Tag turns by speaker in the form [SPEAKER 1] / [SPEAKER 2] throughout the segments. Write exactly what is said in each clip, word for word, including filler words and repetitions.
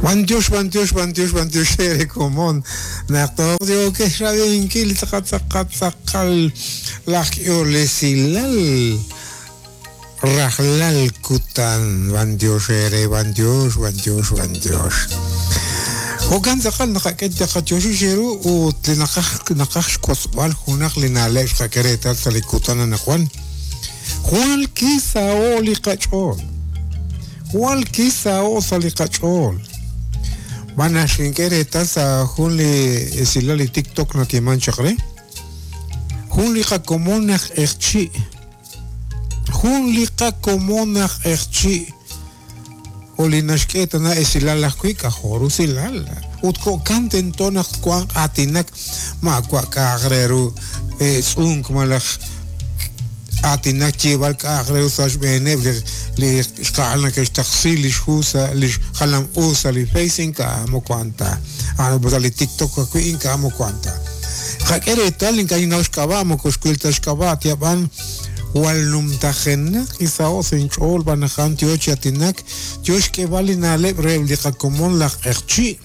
[SPEAKER 1] Bantiox, bantiox, bantiox, bantiox ere komon. Naq toq yoke xrabinkil tzaqatzaqatzaqal laj k'iolesilal rajlal kutan. Bantiox ere, bantiox, bantiox, bantiox. Jo'kan tzaqal naqak'et taqatioxi xeru ut li naqaj naqaj xk'osb'al junaq li na'leb' xqak'e sa' li kutan anaqwan. Jwal kisao li qach'ool. Jwal kisao sa' li qach'ool. B'ana xink'e reetal sa' jun li esilal li TikTok nayeeman chaq re. Jun li qakomon aj q'eqchi'. Jun li qakomon aj q'eqchi'. O li naxk'e tana esilal ajwi' k'ajor usilal. Ut jo'kan tento naq wanq aatinak maawa' k'a'aq re ru tz'unk malaj aatinak yeeb'al k'a'aq re ru sa' xb'eeneb' li li xqa'al nake'xtaqsi li xhu sa' li xjalam u sa' li Face ink'a' moko a'an ta. Sa' li TikTok ajwi' ink'a' moko a'an ta. Qak'e reetal ink'a' ninnaw xk'ab'a' moko xwil ta xk'ab'a' tiab'an jwal numtajenaq kisaho' sa' inch'ool b'an naq a'an yo chi aatinak yo xk'eeb'al li na'leb' re li qakomon laj q'eqchi'.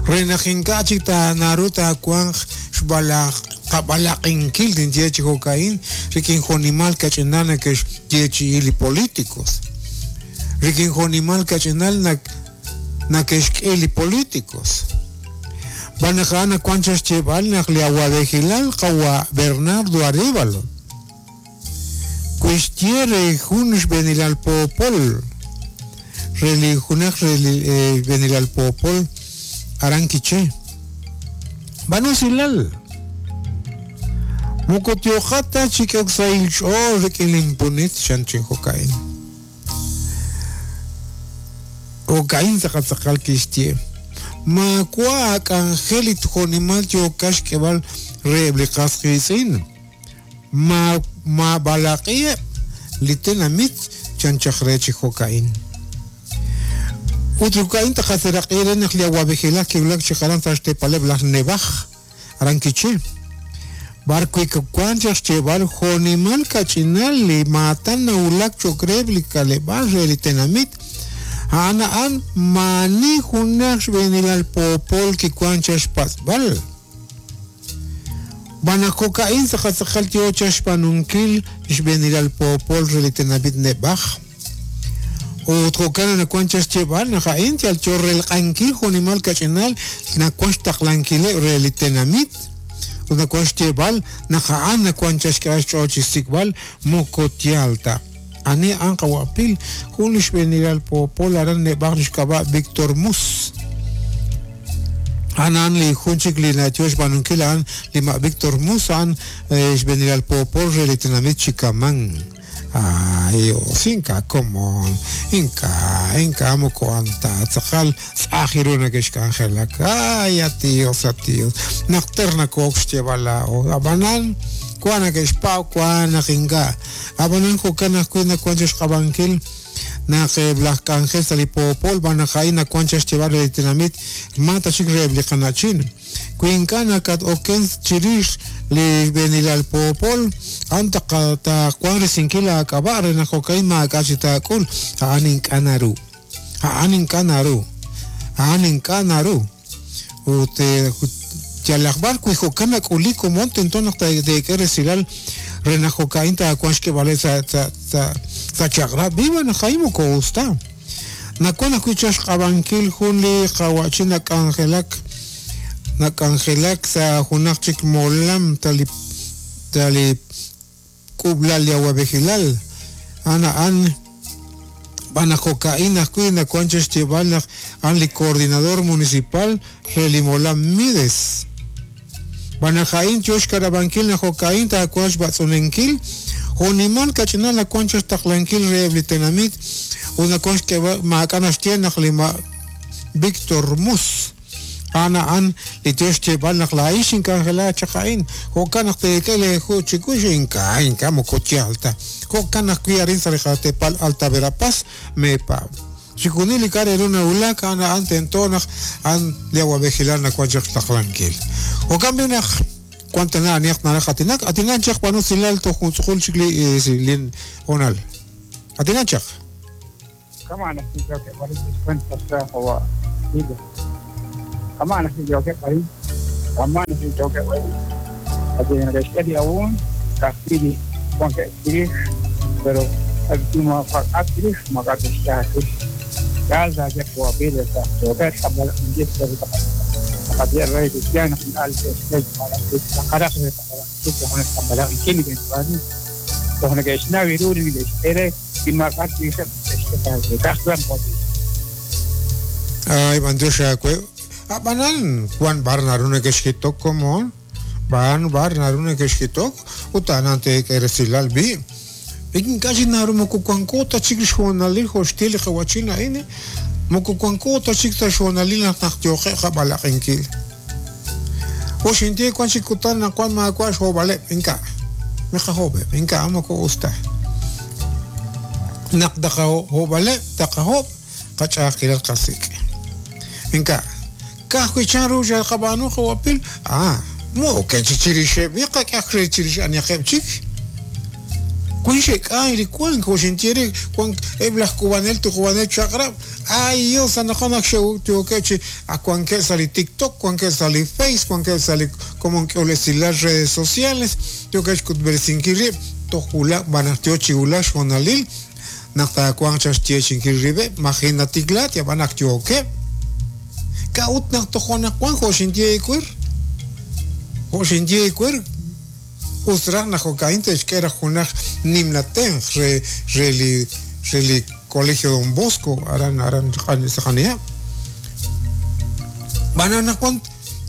[SPEAKER 1] Re naq ink'a' chik naru taawanq xb'alaq qab'alaqinkil tinye chi jo'ka'in rik'in jo'nimal kach'inal nake'xyeechi'i li políticos. Rik'in jo'nimal kach'inal nake'xk'e li políticos. B'an naq a'an nawank chaq xyeeb'al naq li awab'ejilal qawa' Bernardo Arévalo kuixye re jun xb'eenilal poopol re li junaq re li xb'eenilal poopol aran Quiché. B'an usilal. Moko tioqata chik'ok sa' ilch'ool rik'in linpunit chan chi jo'ka'in. Jo'ka'in tzaqatzaqal kixye. Maawa' ak'anjel li jo'nimal yookax xk'eeb'al reheb' li qas qiitz'in. Ma mab'alaq'iheb' li tenamit chan chaq re chi jo'ka'in. Ut jo'ka'in taqaseraq'i re naq li awab'ejilaj kiwulak chi qaran sa' xteepaleb' laj Nebaj aran Quiché. B'ar wi' wank chaq xyeeb'al jo'nimal kach'inal li maatan nawulak cho'q reheb' li k'aleb'aal re li tenamit. A'an a'an maani junaq xb'eenilal poopol kiwank chaq xpatz'b'al. B'an naq jo'ka'in tzaqatzaqal yo chaq xb'aanunkil xb'eenilal poopol re li tenamit Nebaj. Ut jo'kan nawank chaq xyeeb'al naq a'in yal yo relq'ankil jo'nimal kach'inal nawank xtaqlankileb' re li tenamit. Ut nawank xyeeb'al naq a'an nawank chaq xk'eb'al xch'ool chi xsik'b'al moko yaal ta. Ani a'an qawa'pil jun li xb'eenilal poopol aran Nebaj li xk'ab'a' Víctor Mus. A'an a'an li jun chik li nayo xb'aanunkil a'an li ma' Víctor Mus a'an xb'eenilal poopol re li tenamit Chicamán. Ay, Dios, ink'a' komon, ink'a' ink'a' moko a'an ta tzaqal tz'aj ru nake'xk'anjelak. Ay, a Dios, a Dios. Naq ter nakook xyeeb'al laa'o. Ab'anan wan nake'xpaw wan naq ink'a'. Ab'anan jo'kan ajwi' nawank chaq xq'ab'ankil naq eb' laj k'anjel sa' li poopol b'an naq a'in nawank chaq xyeeb'al re li tenamit ma ta chik reheb' li qana'chin. Wi ink'a' nakat-oken chirix li xb'eenilal poopol a'an taawanq risinkil aak'ab'a' re naq jo'ka'in maak'a' chi taak'ul. A'an ink'a' naru. A'an ink'a' naru. A'an ink'a' naru. Ut yalaq b'ar wi jo'kan nak'ulik komon tento naq teek'e resilal re naq jo'ka'in taawanq xk'eeb'aleb' sa' sa' sa' sa' chaq'rab' viva naq a'in moko us ta. Nawank ajwi' chaq xq'ab'ankil jun li qawa'chin nak'anjelak nak'anjelak sa' junaq chik molam ta li ta li k'uub'lal li awab'ejilal. A'an a'an b'an naq jo'ka'in ajwi' nawank chaq xyeeb'al naq a'an li coordinador municipal re li molam Mides. B'an naq a'in yo xkarab'ankil naq jo'ka'in taawanq xb'atz'unenkil jo'nimal kach'inal nawank chaq xtaqlankil reheb' li tenamit ut nawank xk'eeb'al maak'a' naxye naq li ma' Víctor Mus a'an a'an li yo xyeeb'al naq laa'in xink'anjela chaq a'in jo'kan naq teek'e leeju chiwix ink'a' ink'a' moko yaal ta. Jo'kan ajwi' arin sa' li qateepal Alta Verapaz meepaab'. Chixjunil li k'a' re ru nawulak a'an a'an tento naq a'an li awab'ejilal nawank chaq xtaqlankil. Jo'kan b'i naq wank tana anihaq naraj aatinak, aatinak chaq b'an usilal toj juntz'uqul chik li li hoonal. Aatinak chaq.
[SPEAKER 2] Kama naq tink'e b'ar descuento sa' qawa' Pila. Kama nasi joke ahí, kama nasi joke ahí. Así en el estéreo aún, casi con que pero el último actriz, magatis, ya ya puedo pedir esa joke, como la rey cristiano, al para
[SPEAKER 1] Ay, bandiosha, abanan, Juan Barnarune que escrito como Van Barnarune que escrito, utanante que resilal bi. Ikin casi naru mokukuankota chik xonalil hostil qawachina ine mokukuankota chik ta xonalil naqtioqe qabalaqinki. Oxintie kuan chikutan na kuan ma kuan xobale inka. Miqajobe inka amako usta. Naqdaqa hobale taqahob qach'aqilal qasik. Inka kajkuichan ruya qabanu qawapil ah mo kenchichirixe miqa k'aqrichirix aniaqebchik. Cuinche ay cuan coxintiere cuan eblas cubanel tu cubanel chakra ay Dios anajona que a cuan que sali TikTok cuan que sali Face cuan que sali como que las redes sociales yo que escutbersinkiri tojula banastio chiula xonalil naqta cuan chastie chinkiribe imagina tiklat ya banactio que kaut naqtojona cuan coxintie kuer coxintie kuer Usraj na jocaín te esquera junaj nimnaten re reli reli colegio Don Bosco aran aran jania banana cuan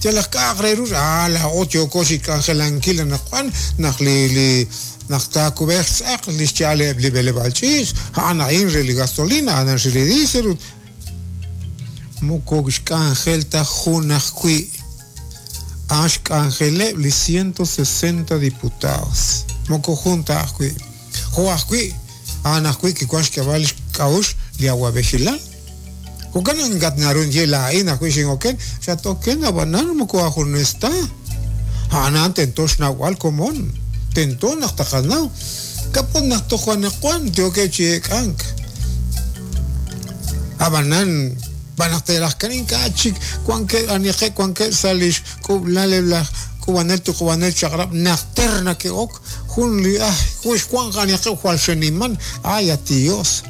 [SPEAKER 1] te las cagreros a la ocho cosi cangelanquila na cuan na li li naqta kubex aq li chale li bele balchis ana in reli gasolina ana reli diesel moko cangelta junaj kui Ashk Angele li ciento sesenta diputados. Moko junta ajui. Jo ajui. Ana ajui que cuash que vale kaush li agua vejilal. Jokan gatnarun yela ain ajui sin oken. Ya toquen abanan moko ajo no está. Ana tentosh nahual común. Tentón hasta janau. Capón hasta juanacuan. Teo que checank. Abanan. Van a tener las carinca chic cuan que anique cuan que salish kublale la kubanel tu kubanel chagrab nacterna que ok junli ah juish cuan anique cual sheniman ay a Dios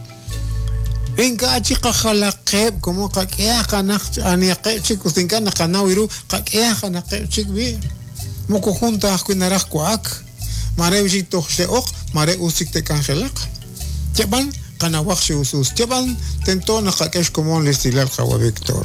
[SPEAKER 1] venga chica jalaqeb como qaqiya qanaq anique chicos tinkana qanawiru qaqiya qanaqeb chic bi moko junta ajkuinaraj kuak mare bishik ok mare usik te cangelaq cheban Kanawak si usus tiaban tento nakakesh como listilal jawa Víctor.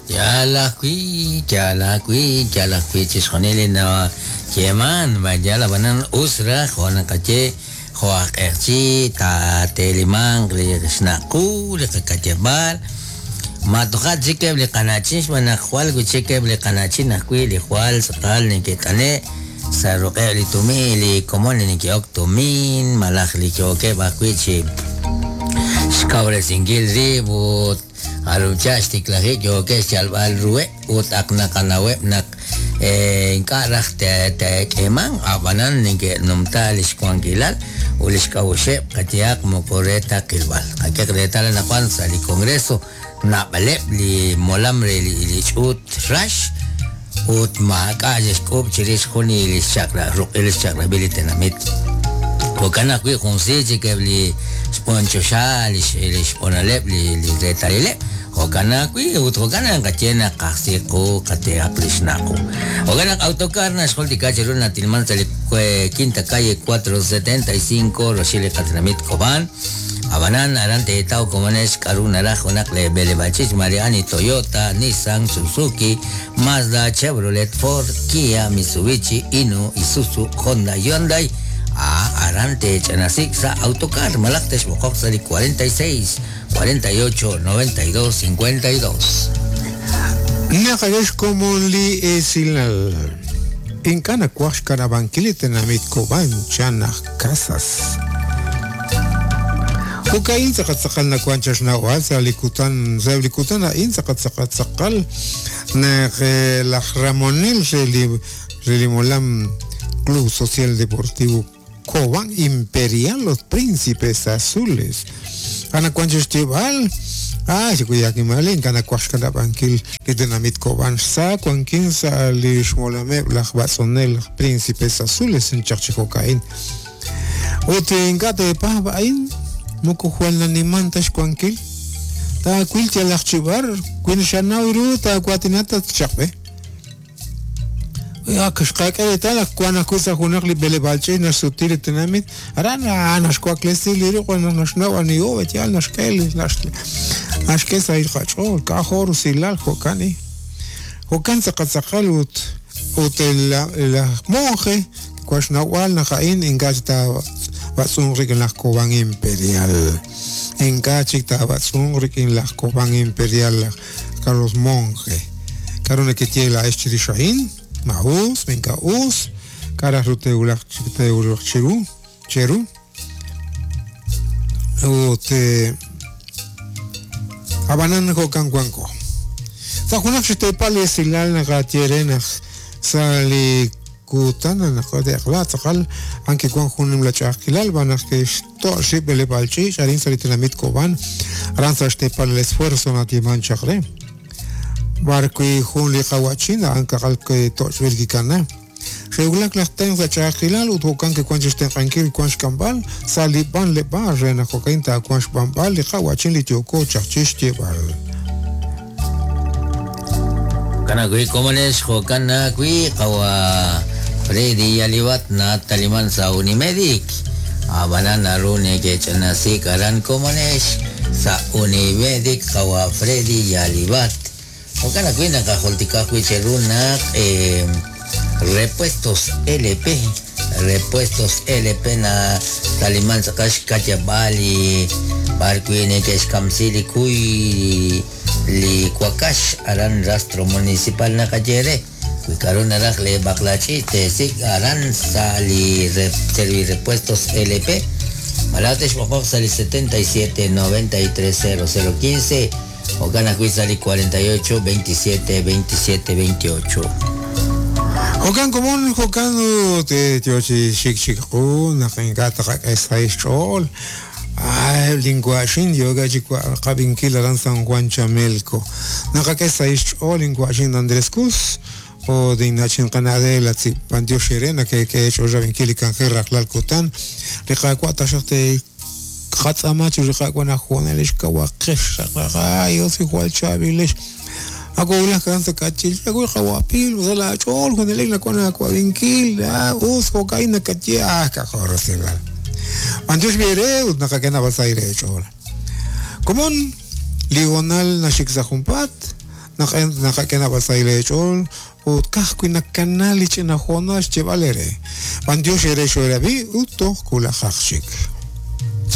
[SPEAKER 3] Ya la kui, ya la kui, ya la kui chisjonele na yeman, vaya la banan usra, juana caché, joaquerchi, ta telimang, le snaku, le cachebal. Matoja chique le canachis, manajual, guicheque le canachin, ajui, le jual, satal, ni que tane. Sarroque li tumi li komon ni ki oktumin malaj li choque bakuichi xkabre singil ribut arucha xtiklaji choque xalbal rue ut aknakanawe nak inkaraj te te keman abanan ni que nomtal xkuankilal ulixkawxe katiak mokoreta kilbal kakek retal na kwan sa li congreso nabalep li molamre li li chut rash ut maaka yeskop chiris juni li chakra ruqil chakra bilitenamit kokana kui junsi que li sponcho sha li li sponalep li li retalile kokana kui ut kokana kachena qasiqu qateaqlishnaku kokana autocar na xoltika chiruna tilman sali quinta calle cuatro setenta y cinco roshile qatramit Cobán Abanan arante tau comones karuna rajonak le belebachis Mariani Toyota Nissan Suzuki Mazda Chevrolet Ford Kia Mitsubishi Inu Isuzu Honda Hyundai a arante chanasik sa autocar malaktesh bokoxali cuarenta y seis cuarenta y ocho noventa y dos cincuenta y dos.
[SPEAKER 1] Nakayesh como li esilal Inkana kuash karabankili tenamit Cobán chanaj casas. Ukain tsaqatsaqal nakuanchax nawal salikutan salikutan ain tsaqatsaqatsaqal naq laj Ramonel reli relimolam Club Social Deportivo Cobán Imperial los Príncipes Azules anawan chi xyeeb'al ah xikuyakimalin ink'a' nawaj xkanab'ankil li tenamit Cobán sa wankin sa' li xmolameb' laj b'atz'unel laj Príncipes Azules nchaq chi jo'ka'in ut ink'a' teepaab' a'in moko jwal naniman ta xwankil taawil yalaq chi b'ar wi xanaw ru taawatinat tatchaqb'e ak xqak'e reetal naq wan ajwi' sa' junaq li b'eleb'aal ch'iich' naxsuti li tenamit aran naxwaklesi li ruq' naxnaw aniho yaal naxk'e li naxk'e sa' qach'ool k'ajo' rusilal jo'kan i jo'kan tz'aqal ut ut laj monje wan xnawb'al naq a'in ink'a' chik taab'atz'unq rik'in laj Cobán Imperial ink'a' chik taab'atz'unq rik'in laj Cobán Imperial laj Carlos Monge k'aru nekeye laa'ex chirix a'in ma us minka us k'araj ru teewulaq teewulaq chiru cheru ut ab'anan jo'kan wanko sa' junaq xteepal li esilal naqaye re naq sa' li kutan naq te'qla tz'aqal an kiwan jun nimla ch'a'ajkilal b'an naq ke'xto' xrib' b'eleb'aal ch'iich' arin sa' li tenamit Cobán aran sa' xteepal el esfuerzo natieman chaq re b'ar wi jun li qawa'chin a'an kaqal ke'to'chb'il kikana xe'wulak laj tenq sa' ch'a'ajkilal ut jo'kan kiwan chixtenq'ankil wan xk'amb'al sa' li b'anleb'aal re naq jo'kan taawan xb'anb'al li qawa'chin li yooko chaq chixyeeb'al
[SPEAKER 3] Jo'kan ajwi' komonex jo'kan ajwi' qawa Freddy Yalibat nataliman sa' Unimedic ab'anan naru neke'ch'anasik aran komonex sa' Unimedic qawa Freddy Yalibat jo'kan ajwi' naqajultika ajwi' cheru naq eh, Repuestos L P Repuestos L P na taliman tz'aqal xka'yab'al li b'ar wi' neke'xkamsi li kuy li wakax aran rastro municipal naqaye re wi k'aru naraj li b'aqlach'i teesik aran sa' li Servirepuestos L P malaj texb'oqoq sa' li setenta y siete noventa y tres cero cero quince jo'kan ajwi' sa' li cuarenta y ocho veintisiete veintisiete veintiocho
[SPEAKER 1] Jo'kan komon jo'kan ut yo chi xik xikqu naq ink'a' taqak'e sa' xch'ool ay linwa'xin yoka chi qab'inkil aran San Juan Chamelco naqak'e sa' xch'ool linwa'xin Andrés Cus o dinachin qanadela tzipantiox ere nakek'e ch'ool rab'inkil li kanjel rajlal kutan li qaawa' taxaq te qatz'ama chi riqawa najuanelex kawaqex ay osi jwal chaab'ilex ako ulaj kan sa k'achil ako qawapil sa la ch'ool junelik nakuan akwab'inkil us jo'ka'in nakatye ah k'ajo' rusilal Antiox biere ut naqak'e nab'al sa' ire ch'ool komon ligonal naxik sa' junpaat naqak'e nab'al sa' ire ch'ool ut kajwi' nakanal li ch'ina joonal xyeeb'al ere Antiox ere xoerab'i ut toj kulajaq chik.